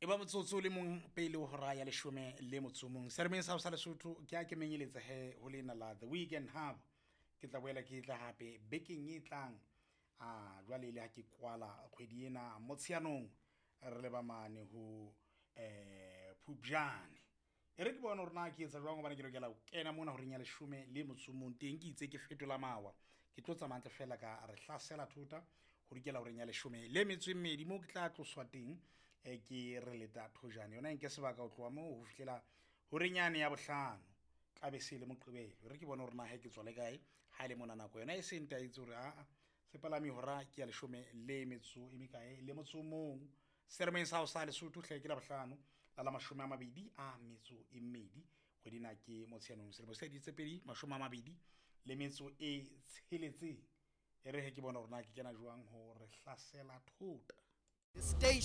E ba motsotso o le mong pele ho hora ya leshome le motso o mong. Seremeng sa ho sa Lesotho ke a ke menyeletsa he ho lena la The Weekend Hub. Ke tla boela ke tla hape bekeng e tlang. A jwale le ha ke kwala kgwedi ena Motsheanong re leba mane ho Phupjane. E re ke bone hore na ke etsa jwang hobane ke lokela ho kena mona horeng ya leshome le motso o mong teng ke itse ke fetola mawa. Ke tlo tsamaya hantle feela ka re hlasela thota ho dikela horeng ya leshome le metso e mmedi moo ke tla tloswa teng ke re leta thojane. Yona e nke sebaka ho tloha moo ho fihlela horeng yane ya bohlano. Tla be se le Moqebelo. E re ke bone hore na he ke tswa le kae ha e le mona nako yona e se ntaetse hore aa sepalami hora ke ya leshome le metso e mekae le motso o mong. Seremeng sa ho sa Lesotho hle ke la bohlano la la mashome a mabedi a metso e mmedi kgwedi ena ke Motsheanong selemo se ditse pedi mashome a mabedi le metso e tsheletseng. E re he ke bone hore na ke kena jwang ho re hlasela thota. Station.